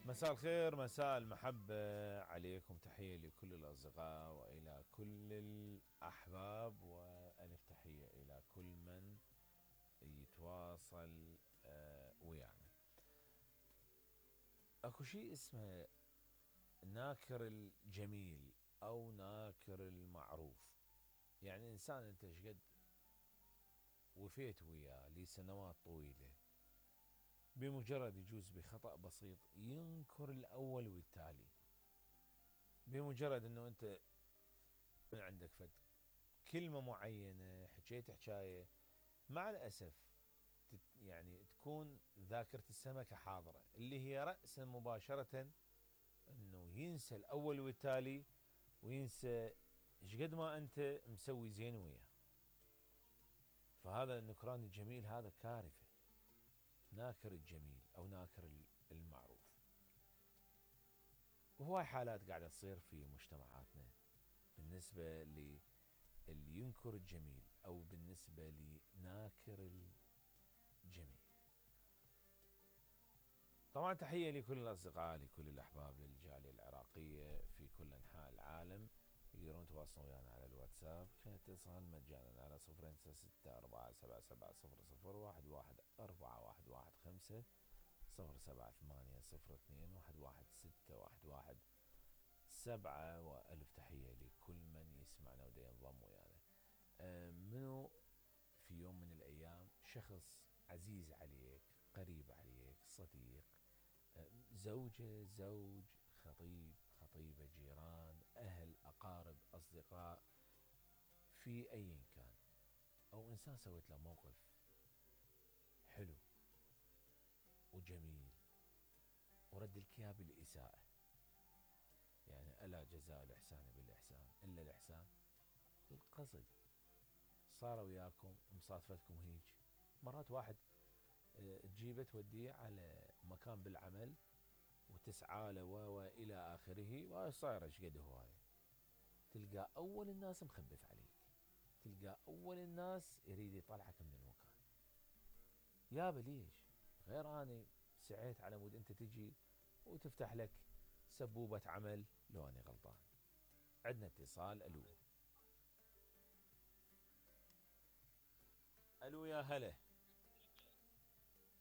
مساء الخير، مساء المحبة عليكم. تحية لكل الأصدقاء وإلى كل الأحباب، وألف تحية إلى كل من يتواصل ويانا. أكو شيء اسمه ناكر الجميل أو ناكر المعروف. يعني إنسان أنت شقد وفيت وياه لسنوات طويلة، بمجرد يجوز بخطأ بسيط ينكر الأول والتالي. بمجرد أنه أنت من عندك فد كلمة معينة حكيت حكاية، مع الأسف يعني تكون ذاكرة السمكة حاضرة، اللي هي رأسا مباشرة أنه ينسى الأول والتالي، وينسى شقد ما أنت مسوي زين وياه. فهذا النكران الجميل هذا كارثة. ناكر الجميل أو ناكر المعروف. وهواي حالات قاعدة تصير في مجتمعاتنا بالنسبة للي ينكر الجميل أو بالنسبة لناكر الجميل. طبعا تحية لكل الأصدقاء، لكل الأحباب، للجالية العراقية في كل أنحاء العالم. يقدرون يتواصلون ويانا على الواتساب كاتصال مجانا على 0964770111415 078021167. وألف تحية لكل من يسمعنا ودا ينضم ويانا. منو في يوم من الأيام شخص عزيز عليك، قريب عليك، صديق، زوجة، زوج، خطيب، خطيبة، جيران، أهل، أقارب، أصدقاء، في أي كان، أو إنسان سويت له موقف حلو وجميل ورد لك إياه بالإساءة. يعني ألا جزاء الإحسان بالإحسان إلا الإحسان بالقصد. صار وياكم مصادفتكم هيج، مرات واحد تجيبه توديه على مكان بالعمل وتسعى له والى اخره، وهاي صايره ايش قد هوايه. تلقى اول الناس مخبث عليك، تلقى اول الناس يريد يطلعك من المكان. يابا ليش؟ غير اني سعيت على مود انت تجي وتفتح لك سبوبه عمل. لو اني غلطان. عندنا اتصال. الو الو، يا هلا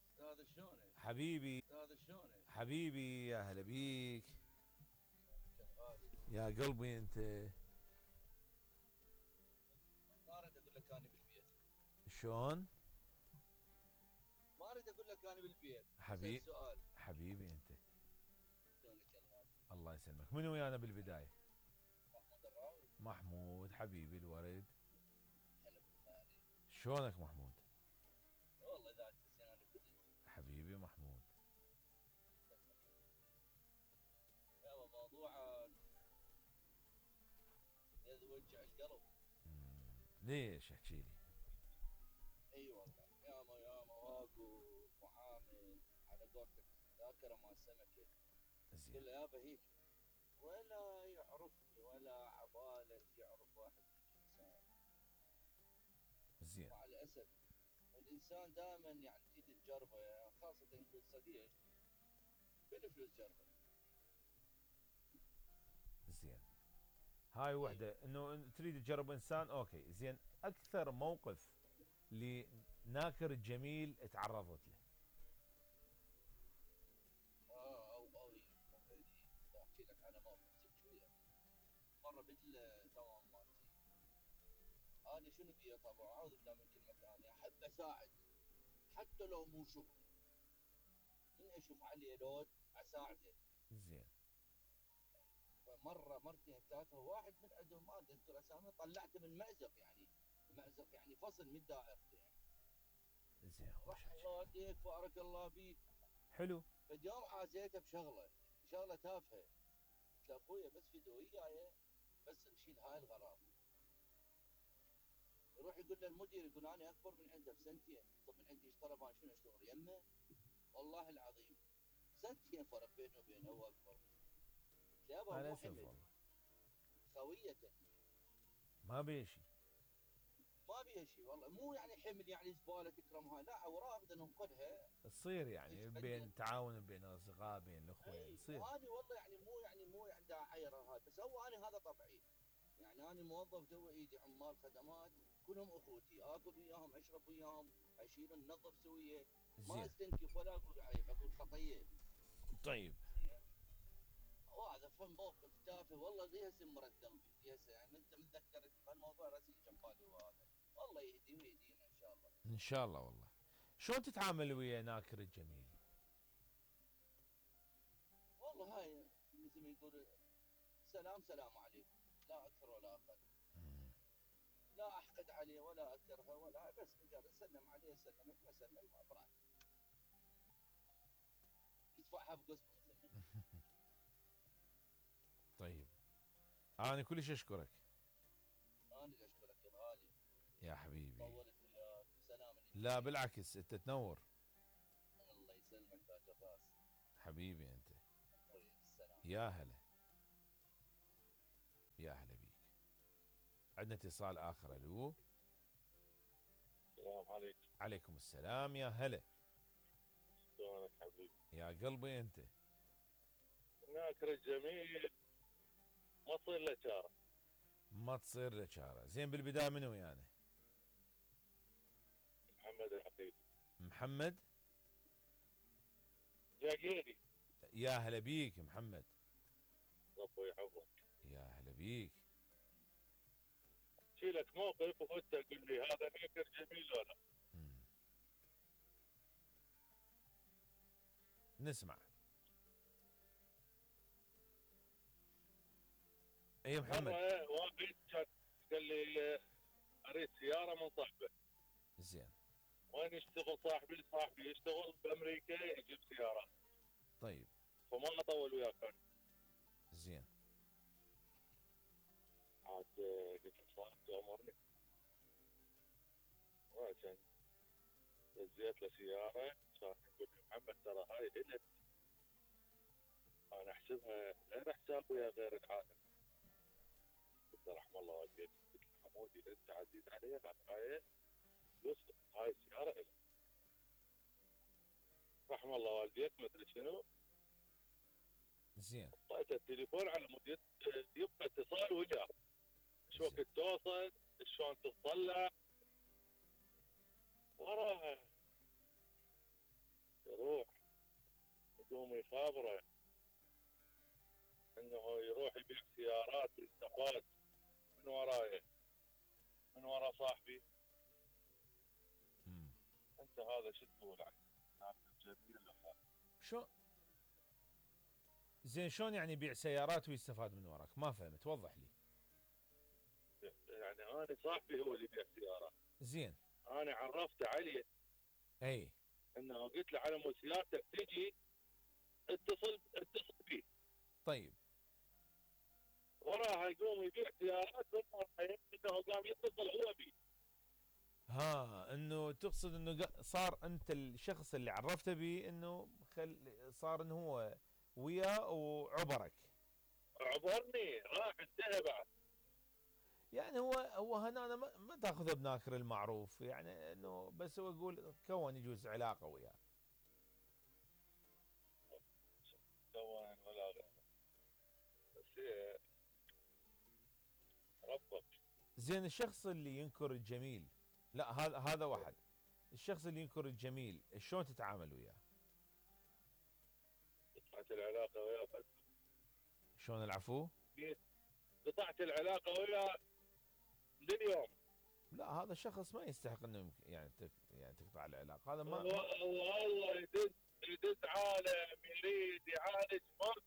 استاذ شلونك؟ حبيبي، استاذ شلونك؟ حبيبي يا هلا بيك يا قلبي. انت ما اريد اقول لك انا بالبيت، شلون؟ ما اريد اقول لك انا بالبيت. اسال حبيب سؤال. حبيبي انت. شلونك يا غالي؟ الله يسلمك. من ويانا بالبدايه؟ محمود الراوي. محمود حبيبي الورد. هلا بالله عليك. شلونك محمود؟ والله اذا انت زين انا كلش. حبيبي محمود. يابا موضوعك يوجع القلب. ليش؟ احكي لي. اي والله ياما واقف وعامل على قولتك ذاكره مال سمكه. زين. قل له يابا هيك ولا يعرفني ولا عباله يعرف واحد انسان. زين. مع الاسف والانسان دائما يعني تريد تجربه، يعني خاصه يكون صديق بالفلوس جربه. زين. هاي وحده انه تريد تجرب انسان. اوكي زين. اكثر موقف لناكر الجميل تعرضت له؟ او احكي لك على موقف شويه. مره بالدوام مالتي انا شنو بي طبعا اعوذ بالله من كلمه ثانيه، احب اساعد حتى لو مو شغل. من اشوف عليه لود اساعده. زين. فمره مرتين ثلاثه واحد من عندهم ما اذكر اسامي طلعته من مازق، يعني مازق يعني فصل من دائرته يعني. زين. راح الله يهديك بارك الله بيك. حلو. فاليوم عازيته بشغله تافهه. قلت له اخويا بس فدوه وياي بس نشيل هاي الغراض. يروح يقول للمدير يقول انا اكبر من عنده بسنتين. طب من عندي اشترى ما شنو اشتغل يمه؟ والله العظيم سنتين فرق بينه وبينه، هو اكبر. يابا مع مو الاسف حمل والله خويه. ما بيشي. ما بيها شيء والله، مو يعني حمل يعني زباله تكرمها، لا اوراق بدنا ننقلها. تصير يعني يتقدم. بين تعاون بين الاصدقاء بين الاخوه اي يصير. انا والله يعني مو يعني دا اعير هاي، بس هو انا هذا طبعي. يعني انا موظف جوا ايدي عمال خدمات، كلهم اخوتي، اكل وياهم، اشرب وياهم، اشيل ننظف سويه. ما زين. استنكف ولا اقول عيب، اقول خطيه. طيب. زين. وهذا فهم موقف تافه والله، ليه هسه مرد قلبي، ليه هسه يعني انت متذكر الموضوع راسي جنب بالي وهذا. والله يهدي ويهدينا ان شاء الله. ان شاء الله والله. شلون تتعامل ويا ناكر الجميل؟ والله هاي مثل ما يقول سلام عليكم، لا اكثر ولا اقل. مم. لا احقد عليه ولا اكرهه ولا، بس مجرد سلم عليه سلمك ما سلم براحته. يدفعها بقسمه مثل ما. طيب. انا كلش اشكرك انا اللي اشكرك يا الغالي. يا حبيبي. طولت وياك، سلام لا الاثنين. بالعكس انت تنور. الله يسلمك تاج الراس. حبيبي انت. طيب السلام. يا هلا. يا هلا بيك. عندنا اتصال اخر. الو. السلام عليكم. عليكم السلام يا هلا. شلونك حبيبي؟ يا قلبي انت. ناكر الجميل ما تصير له شاره. ما تصير لك شاره. زين بالبدايه منو يعني؟ محمد العقيل محمد. جاقيني. يا هلا بيك محمد. ربي يحفظك. يا هلا بيك. شيلك موقف وانت تقول لي هذا ناكر جميل ولا؟ مم. نسمع. اي محمد. مره واحد كان قال لي اريد سياره من صاحبه. زين. وين يشتغل صاحبي؟ صاحبي يشتغل بامريكا يجيب سيارات. طيب. فما اطول وياك انا. زين. عاد قلت له صاحب تامرني. وعشان دزيت له سياره كان يقول لي محمد ترى هاي الك. انا احسبها غير حساب ويا غير العالم. قلت له رحم الله والديك. قلت له حمودي انت عزيز علي هاي فلوس، هاي السياره الك. رحم الله والديك مدري شنو. زين. طيت التليفون على مود يبقى اتصال وجاه. شو وقت توصل؟ شلون تطلع؟ وراها يروح يقوم يخابره انه يروح يبيع سيارات ويستفاد من وراي، من ورا صاحبي. مم. انت هذا شو تقول عنه؟ ناكر جميل ولا؟ شو. زين شلون يعني يبيع سيارات ويستفاد من وراك؟ ما فهمت، وضح لي. يعني انا صاحبي هو اللي يبيع سيارات. زين. انا عرفت عليه اي. انه قلت له على مود سيارتك تجي اتصل بي. طيب. وراها يقوم يبيع سيارات انه قام يتصل هو بي. ها انه تقصد انه صار انت الشخص اللي عرفته به انه صار انه هو وياه وعبرك. عبرني راح انتهى بعد. يعني هو هنا أنا ما تاخذه بناكر المعروف، يعني انه بس هو يقول كون يجوز علاقه وياه. سواء ولا غيره. بس هي ربك. زين الشخص اللي ينكر الجميل، لا هذا واحد. الشخص اللي ينكر الجميل شلون تتعامل وياه؟ قطعت العلاقه وياه. شلون العفو؟ قطعت العلاقه وياه لليوم. لا هذا الشخص ما يستحق انه يعني يعني تقطع العلاقه، هذا ما والله يدز عالم يريد يعالج ماكو.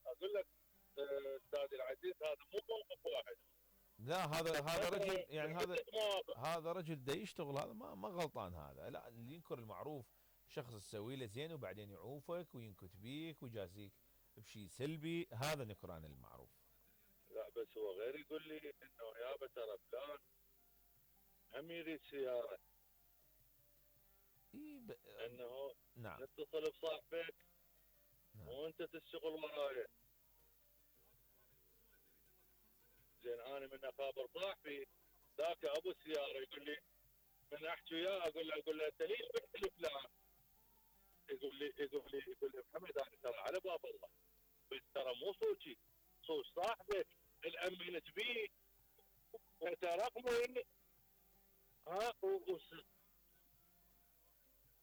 اقول لك استاذ العزيز هذا مو موقف واحد. لا هذا رجل يعني عدة مواقف. هذا رجل دا يشتغل، هذا ما غلطان هذا. لا اللي ينكر المعروف شخص تسوي له زين وبعدين يعوفك وينكت بيك ويجازيك بشيء سلبي، هذا نكران المعروف. لا بس هو غير يقول لي انه يابا ترى فلان هم يريد سياره. انه نعم. نتصل بصاحبك نعم. وانت تشتغل وراي. زين انا من اخابر صاحبي ذاك ابو السياره يقول لي، من احكي وياه اقول له انت ليش بتحلف لا؟ يقول لي محمد انا ترى على باب الله، بس ترى مو صوتي، صوت صاحبك الامنت بيه وترقني. ها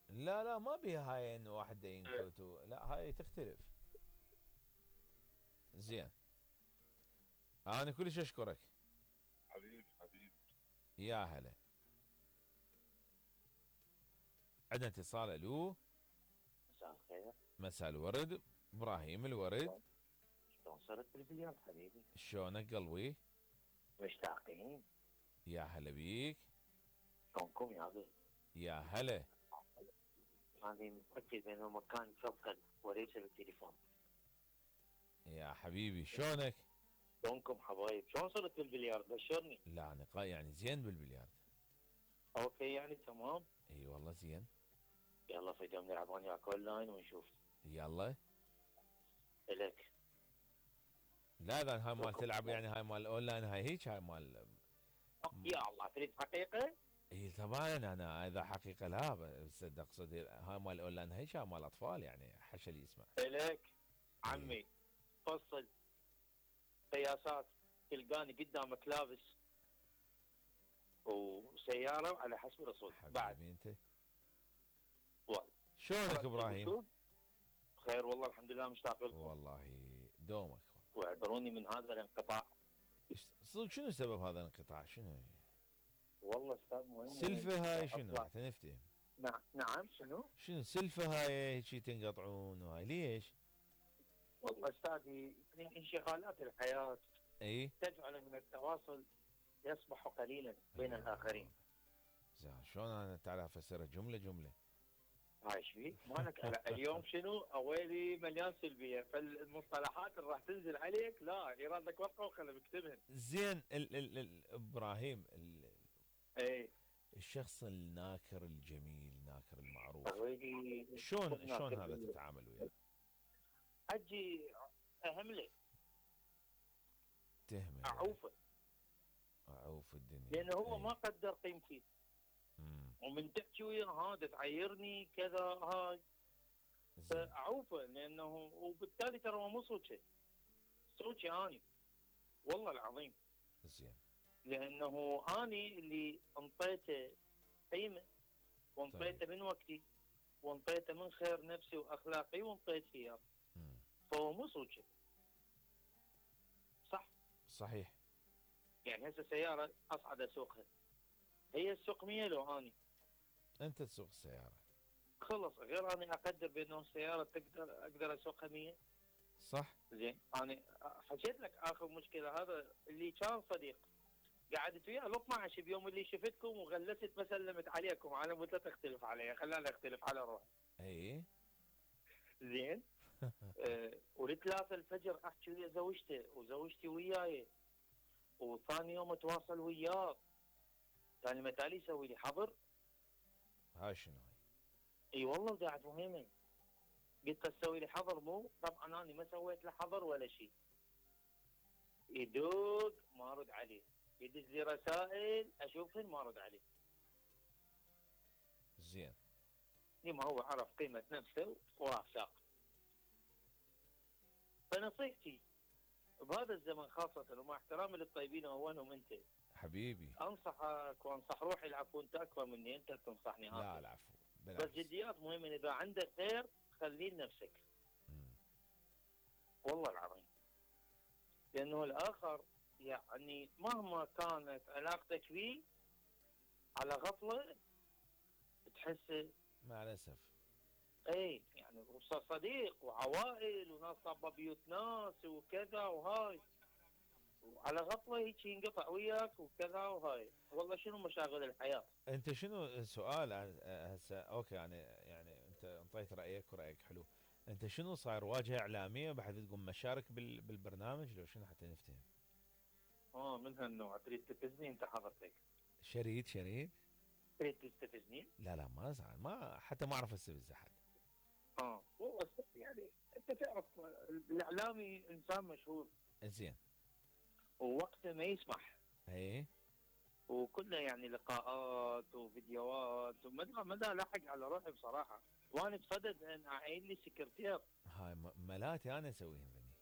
لا لا ما بيها هاي انه واحد ينكت لا هاي تختلف. زين انا كلش اشكرك. حبيبي حبيبي. يا هلا. عندنا اتصال. الو. مساء الخير. مساء الورد. ابراهيم الورد. شلون صرت بالبلياردو حبيبي؟ شلونك قلبي؟ مشتاقين. يا هلا بيك. شلونكم يا ابي؟ يا هلا. هذه متأكد بأنه مكان فقد وليس بالتليفون. يا حبيبي شلونك؟ شلونكم حبايب؟ شلون صرت بالبلياردو؟ بشرني. لا انا يعني زين بالبلياردو. اوكي يعني تمام؟ اي والله زين. يلا في يوم نلعب انا وياك اون لاين ونشوف. يلا. الك. لا اذا هاي مال تلعب يعني هاي مال اونلاين هاي هيك هاي مال. يا الله تريد حقيقة؟ اي طبعا انا اذا حقيقه لا بس اقصد هاي مال اونلاين هيك هاي مال اطفال يعني حش اللي يسمع. الك عمي فصل قياسات تلقاني قدامك لابس وسيارة على حسب الرسول بعد. حبيبي انت. والله. شلونك ابراهيم؟ بخير والله الحمد لله مشتاق لكم. والله دومك. واعذروني من هذا الانقطاع. صدق شنو سبب هذا الانقطاع شنو؟ والله استاذ مهم. سلفة هاي شنو حتى نفتهم. نعم شنو؟ شنو سلفة هاي هيك تنقطعون وهاي ليش؟ والله استاذي انشغالات الحياة اي تجعل من التواصل يصبح قليلا بين الاخرين. زين شلون انا تعال افسرها جملة جملة. هاي ايش فيك؟ مالك اليوم شنو؟ اويلي مليان سلبية فالمصطلحات اللي راح تنزل عليك لا يرادك ورقة وقلم اكتبهن. زين ابراهيم ايه الشخص الناكر الجميل ناكر المعروف اويلي شلون هذا تتعامل وياه؟ اجي اهمله تهمل اعوفه اعوف الدنيا لانه هو أي. ما قدر قيمتي. ومن تحكي وياه هذا تعيرني كذا هاي فاعوفه لانه وبالتالي ترى هو مو صوتي صوتي اني والله العظيم. زين لانه اني اللي انطيته قيمه وانطيته من وقتي وانطيته من خير نفسي واخلاقي وانطيته اياه فهو مو صوتي. صح؟ صحيح. يعني هسه سياره اصعد اسوقها هي تسوق 100 لو اني انت تسوق السيارة خلص غير اني اقدر بانه السياره اقدر اسوقها 100. صح. زين انا حكيت لك اخر مشكله هذا اللي كان صديق قعدت وياه ال 12 بيوم اللي شفتكم وغلست ما سلمت عليكم على مود لا تختلف علي خلاني اختلف على روحي. اي زين ولثلاثة الفجر احكي ويا زوجته وزوجتي وياي وثاني يوم اتواصل وياه ثاني ما تالي يسوي لي حظر. هاي شنو هاي؟ اي والله قاعد مهمه قلت تسوي لي حظر مو طبعا انا ما سويت له حظر ولا شيء. يدق ما ارد عليه يدز لي رسائل اشوفهن ما ارد عليه. زين لما هو عرف قيمه نفسه وافاق. فنصيحتي بهذا الزمن خاصه ومع احترامي للطيبين واولهم انت حبيبي. انصحك وانصح روحي العفو انت اكبر مني انت تنصحني لا هذا. العفو بس جديات مهمه اذا عندك خير خليه لنفسك. والله العظيم لانه الاخر يعني مهما كانت علاقتك فيه على غفله تحس مع الاسف. اي يعني صديق وعوائل وناس طابه بيوت ناس وكذا وهاي وعلى غفله هيك ينقطع وياك وكذا وهاي. والله شنو مشاغل الحياه. انت شنو سؤال هسه اوكي يعني انت انطيت رايك ورايك حلو. انت شنو صاير واجهه اعلاميه بعد تقوم مشارك بالبرنامج لو شنو حتى نفتهم؟ من هالنوع تريد تستفزني انت حضرتك؟ شريد تريد تستفزني؟ لا ما زعل ما حتى ما اعرف استفز احد. والله يعني انت تعرف الاعلامي انسان مشهور. زين ووقته ما يسمح. اي وكلها يعني لقاءات وفيديوهات ومدى لاحق على روحي بصراحه. وانا بصدد ان اعين لي سكرتير. هاي ملاتي انا اسويهم ذني.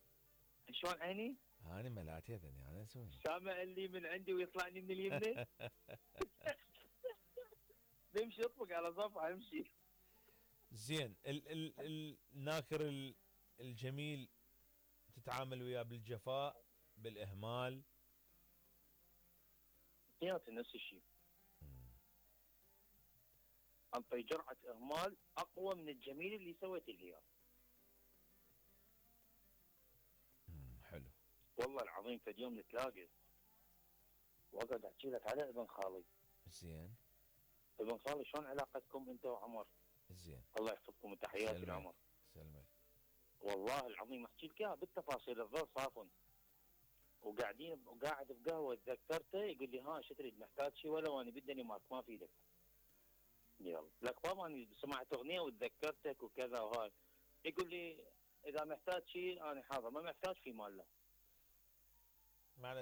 شلون عيني؟ هاني ملاتي ذني انا اسويهم. سامع اللي من عندي ويطلعني من اليمنى. بمشي اطبق على صفحه امشي. زين الناكر الجميل تتعامل وياه بالجفاء بالاهمال؟ اثنيناتهم نفس الشيء. انطي جرعه اهمال اقوى من الجميل اللي سويت لي اياه. حلو. والله العظيم فد يوم نتلاقى واقعد احكي لك على ابن خالي. زين. ابن خالي شلون علاقتكم انت وعمر؟ زين. الله يحفظكم وتحياتي لعمر. سلمك. والله العظيم احكي لك اياها بالتفاصيل الظل صافن. وقاعد بقهوه تذكرته يقول لي ها شو تريد محتاج شيء ولا وانا بدني ماك ما في ايدك. يلا لك بابا انا سمعت اغنيه وتذكرتك وكذا وهاي. يقول لي اذا محتاج شيء انا حاضر ما محتاج في مال له. معنا